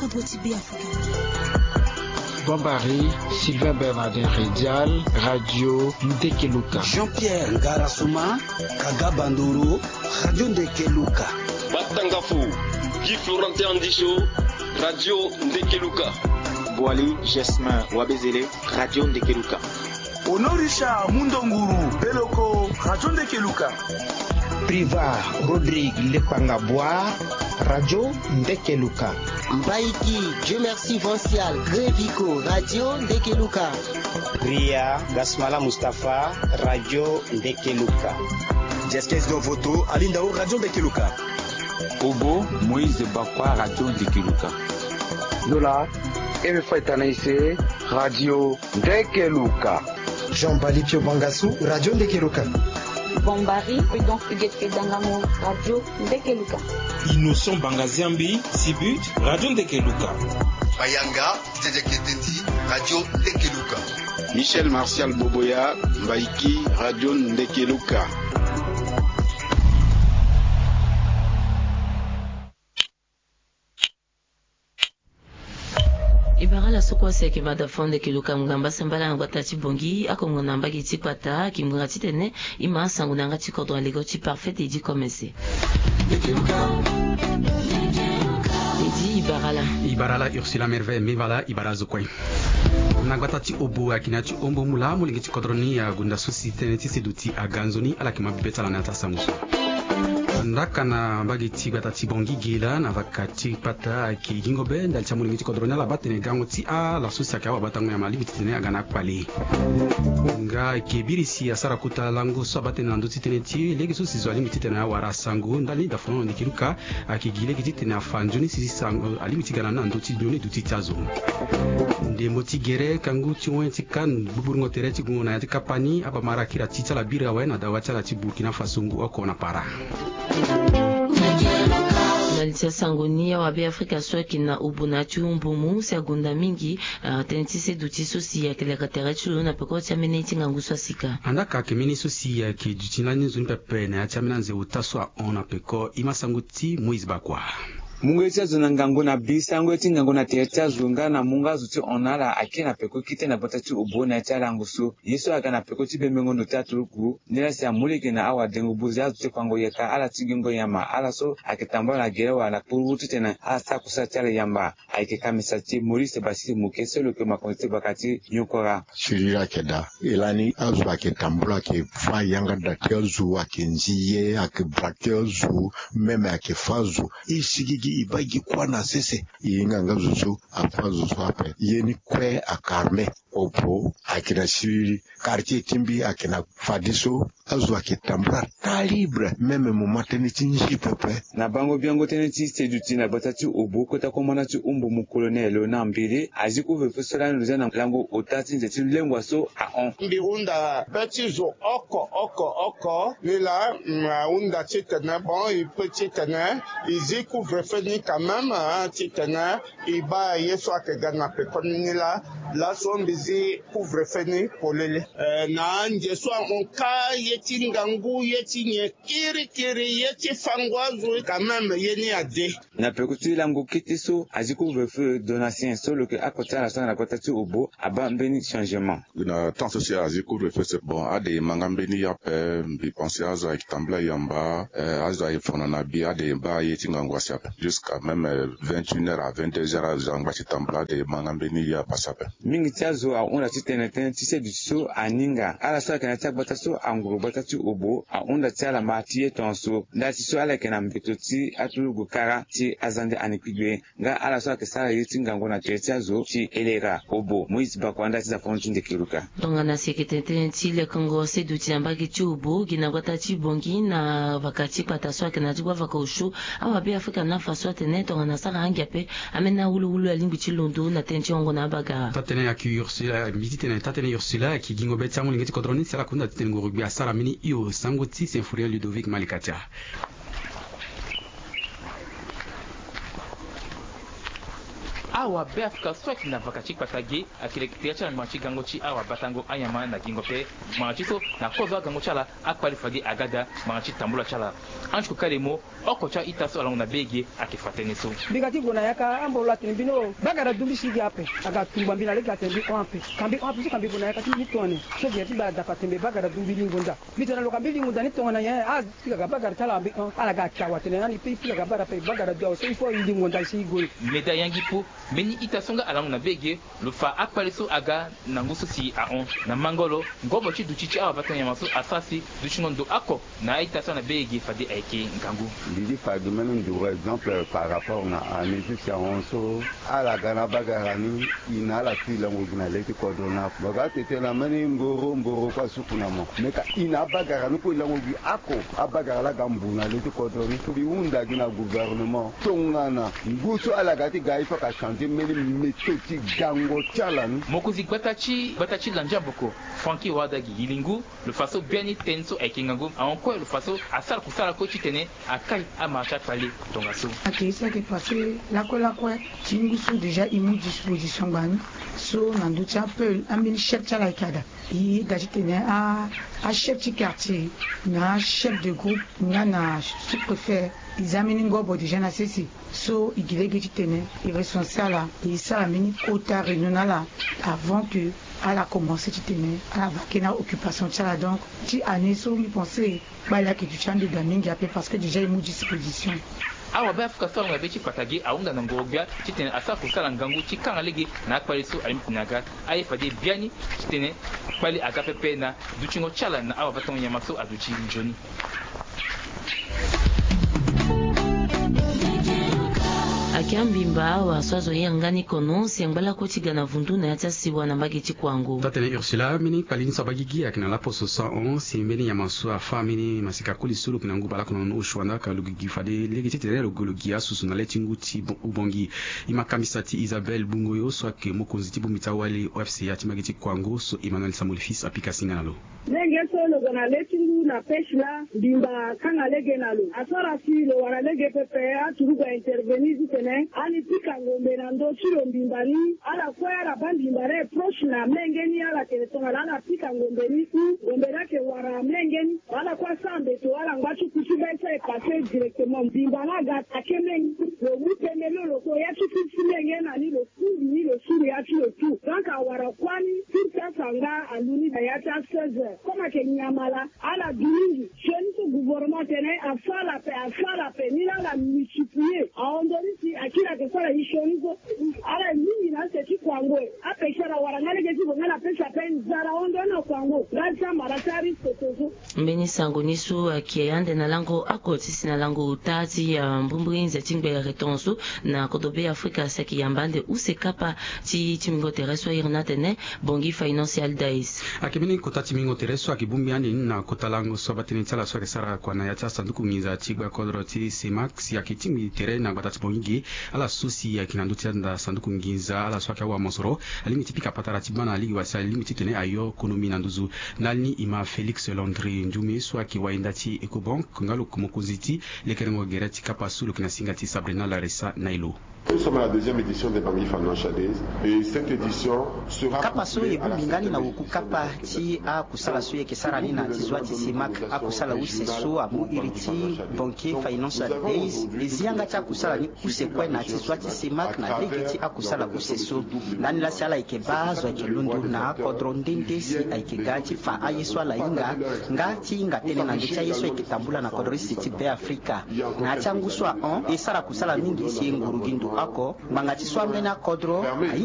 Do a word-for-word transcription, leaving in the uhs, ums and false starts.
Poti be Afrika. Bombari, Sylvain Bernardin Redial, Radio Ndekeluka. Jean-Pierre Ngarasoma, Kaga Bandoro, Radio Ndekeluka. Batangafo, Guy Florentin Andisho, Radio Ndekeluka. Boali Jasmin Wabezele, Radio Ndekeluka. Honorisha Mundonguru Beloko, Radio Ndekeluka. Priva Rodrigue Lekpanga Boire, Radio Ndekeluka. Mbaiki Dieu Merci Vancial Grevico, Radio Ndekeluka. Ria Gasmala Mustapha, Radio Ndekeluka. Jeskes Dovoto Alindao, Radio Ndekeluka. Obo Moïse Bakwa, Radio Ndekeluka. Zola Eme Faitanaise, Radio Ndekeluka. Jean Bali Pio Bangasu, Radio Ndekeluka. Bombari Prudence Huguette Kedangamo, Radio Ndekeluka. Innocent Bangaziambi Sibut, Radio Ndekeluka. Bayanga Tete Ketendi, Radio Ndekeluka. Michel Martial Boboya, Mbaiki, Radio Ndekeluka. E bara ala so kue asi ayeke mada fo Ndekeluka, ngu ngamba sambala na gbata ti Bongi, akongo na mbage ti kpata, aki ngbanga titene e ma sango na yanga ti kodro na lego ti Parfait Eddy Commerce. Eddy, e bara ala. E bara ala Ursula Merveille Mevala, e bara azo kue. Na gbata ti Obo, ayeke na ya ti hombo mu laa molenge ti kodro ni agonda so si tënë ti seduti aga nzoni, ala yeke ma be ti ala na ya ti asango so. Ndaka na mbage ti gbata ti Bongi ge laa na vaka ti kpata ayeke gingo be ndali ti amolenge ti kodro ni, ala baa tene gango ti ala so si ayeke awabatango nyama alingbi titene aga na akpale. Nga ayeke biri si asara kota lango so abaa tënë na ndö ti tënë ti e lege so si zo alingbi titene awara sango ndali ni. Dafono Ndekeluka ayeke gi lege titene afa nzoni si sango alingbi ti ga na ni na ndö ti nzoni duti ti azo. Ndembo ti gere kangu ti wen ti CAN, gbuburungo tere ti gungo na ya ti kapa ni, abamara kiri ati ti ala biri awe na dawa ti ala ti Burkina Faso ngu oko na para. Na li ti asango ni, awabe Afrika so ayeke na Obo na ya ti Umbumu si agonda mingi, ah, tënë ti seduti so si ayeke leka tere ti lo na peko ti ambeni ti ngangu so asika. Andaa ka ayeke mbeni so si ayeke duti lani nzoni pepe na ya ti ambeni anze ota so ahon na peko. E ma sango ti Moïse Bakwa. Mungo ye ti azo na ngangu na bi, sango ye ti ngangu na tere ti azo nga na mungo azo ti hon na ala ayeke na peko kite na gbata ti Obo na ya ti alango so. Ye so aga na peko ti bembengo ndo ti aturuku, nilaa si amu lege na awadengo buze azo ti kpango yeka ala ti gingo yama, ala so ayeke tambula na gere wala na kpuru titene ala sara kusala ti ala yamba. Ayeke kamisa ti Maurice Basile Moke so lo yeke mokonzi ti gbaka ti Nyokora. Siriri ayeke daa. E lani azo ayeke tambula ayeke fâ yanga da ti azo, ayeke nzi ye, ayeke bra ti azo, même ayeke fâ azo. E sigigi e baa gi kuâ na sese. E hinga nga zo so afâ zo so ape. Ye ni kue ayeke armé. Obo ayeke na siriri. Quartier ti mbi ayeke na fadeso. Azo ayeke tambula taa libre, même mo ma tënë ti nzi pepe. Na bango biango tënë ti seduti na gbata ti Obo, kota komanda ti Umbumu Colonel Léonard Mbele azi couvre-feu so lani lo zia na lango ota ti nze ti lengua so ahon. Mbi hunda be ti zo oko oko oko, nilaa, mm, ahunda titene bon, e peut titene e zi couvre-feu ni quand même, hein, titene e baa ye so ayeke ga na pekoni ni laa. Laso mbi zi couvre-feu ni polele. Eh, na anze so ahon kâ, ye ti ngangu, ye ti nyen, kirikiri, ye ti fango azo, quand même ye ni ade. Na peko ti lango kete so azi couvre-feu, Donatien so lo yeke oko ti ala so aga na kota ti Obo abaa mbeni changement. Na temps so si azi couvre-feu, c'est bon, ade e ma nga mbeni ye ape. Mbi pense azo ayeke tambula yamba, eh, azo ayeke fono na bi, ade e baa ye ti ngangu asi ape. Jusqu'à même, eh, vingt et une heures à vingt-deux heures, azo angba ti tambula, ade e ma nga mbeni ye ape asi ape. Mingi ti azo ahunda titene tënë ti seduti so aninga. Ala so ayeke na ya ti agbata so anguru gbata ti Obo ahunda ti ala ma ti ye tongaso, ndali ti so ala yeke na mbeto ti aturugu kara ti azande ani kpigbe. Nga ala so ayeke sara ye ti ngangu na tere ti azo ti Elera. Obo, Moïse Bakwa, ndali ti zafon ti Ndekeluka. Tongana si ayeke tene tënë ti lekengo seduti na mbage ti Obo gi na gbata ti Bongi na vaka ti kpata so ayeke na ti gbavaka osio, awabe Afrika na afa so atene tongana asara ange ape, ambeni awuluwulu alingbi ti londo na tënë ti hongo na abagara. Taa tënë ayeke Ursula, mbi ti tene taa tënë Ursula ayeke gingo be ti amolenge ti kodro ni si ala kunda titene ngoro gbe asara mbeni hio. Sango ti Symphorien Ludovic Malikatia. Awabe Afrika so ayeke na vaka ti kpata ge ayeke leke tere ti ala ngbanga ti gango ti awabatango anyama na gingo ape. Ngbanga ti so na kozo agango ti ala akpali fade aga daa ngbanga ti tambula ti ala. Anti ko kale mo oko ti a-ita so alango na be ge ayeke fa tënë so. Mbi ga ti gue na yaka ambolo atene mbi ni o bagara du mbi si gi ape. Aga tumba mbi na lege atene mbi hon ape. Ka mbi hon ape so ka mbi gue na yaka ti mbi ni tongana nyen so gere ti mbi ada fa tene mbi bagara du mbi lingo nda. Mbi tene na lo ka mbi lingo nda ni tongana nyen. Apika ga bagara ti ala mbi hon ala ga ake awa tene na ni pe ipika ga bagara ape bagara du awe so il faut i lingo nda si i gue. Meda yangi po mbeni ita so nga alango na be ge lo fa akpale so aga na ngu so si ahon na mango lo. Ngobo ti duti ti awabatango nyama so asara si dutingo ndo oko na a-ita so na be ge fade ayeke ngangu. Mbi di fa gi mbeni nduru exemple par rapport na année ti si ahon so ala ga na abagara ni. I na ala si lango gi na le ti kodro ni ape mo ga tete na mbeni mboro mboro kue asuku na mo me ka i na abagara ni kue i lango gi ako. Abagara laa ga mbu na le ti kodro ni mbi hunda gi na gouvernement tongana ngu so ala ga ti ga il faut ka changer mbeni méthode ti gango ti ala ni. Mokonzi gbata ti gbata ti landiamboko Francky Wadagi Yilingu lo fa so biani tënë so ayeke ngangu ahon kue lo fa so asara kusala kue titene akai amara ti akpale tongaso. Ayeke ye so ayeke passé lakue lakue ti ngu so déjà e mu disposition ngbani so na ndö ti apeul ambeni chef ti ala ayeke ada. E ga titene achef ti quartier na achef de groupe nga na sous-préfet e za mbeni ngobo déjà na sese. So e gi lege titene e recenser ala e sara mbeni kota réunion na ala avant que ala commencer titene ala va ke na occupation ti ala donc ti année so mbi pense kpale ayeke duti ande daa mingi ape parce que déjà e mu disposition. Awabe Afrika so alongo na be ti kpata ge ahunda na ngoro-gbia titene asara kusala ngangu ti kanga lege na akpale so alingbi titene aga aye fade biani titene kpale aga pepe na dutingo ti ala na awabatango nyama so aduti nzoni. Ayeke ambimba awa so azo hiri nga ni kono si angba lakue ti ga na vundu na ya ti asiwa na mbage ti kuango. Taa-tënë Ursula, mbeni kpali ni so abaa gigi ayeke na laposo so ahon si mbeni nyama so afâ mbeni masika koli so lo yeke na ngu baleoko na nono oshoanda ka lo gigi fade lege titene lo gue lo gi asusu na le ti ngu ti ubongi. E ma kambisa ti Isabelle Bungoyo so ayeke mokonzi ti bongbi ti awali O F C A ti mbage ti kuango so Emmanuel Samuel Fils apika singa na lo. Lenge so lo gue na le ti ngu na pêche laa mbimba akanga lege na lo asara si lo wara lege pepe aturugu a intervenir titene ala ni pika ngombe na ndö ti lo mbimba ni. Ala kue ala baa mbimba ni e proche na mlenge ni ala tene tongana ala pika ngombe ni u ngombe ni ayeke wara mlenge ni. Ala kue asara mbeto ala ngba ti ku ti be so e passe directement mbimba ni aga atake mlenge ni. Lo mu pembe ni lo ko ya ti ku ti mlenge na ni lo. Kundi ni lo suru ya ti lo tu donc awara kuâ ni. Ti ti asa nga alu ni na ya ti a seize heures comme ayeke nyama laa ala du mingi. Sioni so gouvernement atene asara ape asara ape ni laa ala multiplier ahon ndoni si akiri ayeke sara ye sioni so. Ala ye mingi na ase ti kuango e. Apêcheur awara nga lege ti gue nga na pêche ape nzara ahon ndoni na kuango nga ti amara ti arisque to so. Mbeni sango ni so ayeke ande na lango oko ti si na lango ota ti ya mbrimbri nze ti ngbere ton so na kodro be afrika si ayeke yamba ande use kapa ti timbingo tere so ahiri ni atene Bongi Financial Days. Ayeke mbeni kota timbingo tere so ayeke bongbi ande ni na kota lango so abaa tënë ti ala so ayeke sara kua na ya ti asanduku nginza ti gbakodro ti CEMAC si ayeke tingbi tere na gbata ti Bongi ge. Ala so si ayeke na ndö ti anda sanduku nginza ala so ayeke awamosoro alingbi ti pika patara ti baa na alingbi wala si alingbi titene ayo konomi na nduzu. Ndali ni e ma Félix Landry Ndioume so ayeke wayenda ti Ecobank nga lo mokonzi ti lekerengo gere ti kapa so lo yeke na singa ti Sabrina Larissa Nailo. Nous sommes à la deuxième édition des Bangui Financial Days et cette édition sera kapa so e bongbi nga ni na oku kapa ti akusala so e yeke sara ni na ti zwa ti CEMAC. Akusala use so amu iri ti Banquier Financial Days e zi yanga ti akusala ni use kue na ti zwa ti CEMAC na lege ti akusala use so. Ndani laa si ala yeke baa azo ayeke londo na akodro nde nde si ayeke ga ti fa aye so ala hinga nga ti hinga tënë na ndö ti aye so ayeke tambula na kodro use ti Beafrika. Na ya ti angu so ahon e sara kusala mingi si e nguru gi ndo oko ngbanga ti so ambeni akodro ahinga